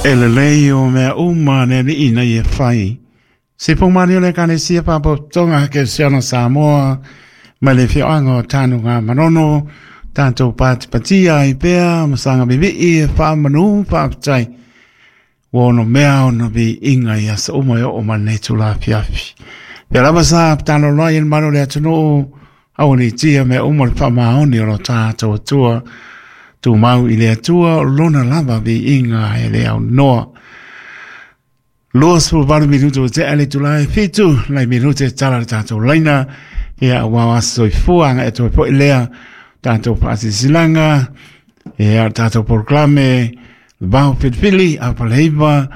E lelei o mea uma le alii ina ia fai. Se poumani o le Ekalesia Faapotopotoga Kerisiano Samoa mai le afioaga o Tanuga Manono, tatou patipatia ai pea ma saga vivii e faamanu faafetai ua ono mea ona viiga i aso uma e oo mai lenei itula afiafi. Pea lava sa tatalo ai e le mamalu o le atunuu, aua ne i tia mea uma le faamaoni o lo tatou Atua. Tumau i le Atua o lona lava viiga e le aunoa. 28 minuto ua tea le itula e 7 nai minute e tala le tatou laina ia aua o aso soifua agai atu ai foi lea tatou faasilasilaga ia tatou polokalame vao filifili a Faleiva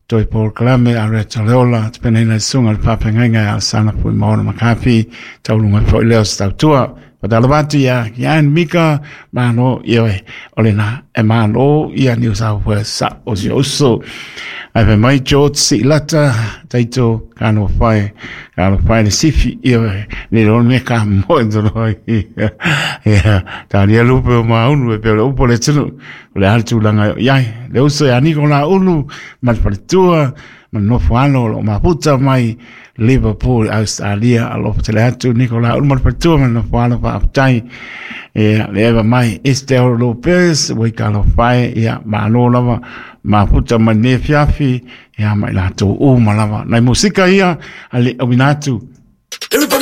toe polokalame a Reta Leola tapenaina e susuga i le faafeagaiga ia Alesana Fuimaono Makafi tauluga foi lea o se tautua. Faatalofa atu ia Ian Mika, malo ioe, o lena e malo ia New South Wales sa o si uso. Ai fai mai George Siilata, taito kano whai, kano whai le sifi, ioe, ni rona me ka moe tolo ia, ia, tā nia lupe o maunu e peo le upo le tunu, o le hale tūlanga iai, le uso ia niko la ulu, ma le faletua, ma le nofo alo o loo mafuta mai Liverpool Australia alofa tele atu Nicola ulu ma le faletua ma le nofo alo faafetai ia le eva mai Estelle Lopez ua i talofa e ia malo lava mafuta mai lenei afiafi ia ma i latou uma lava nai musika ia a le auina atu. Everybody.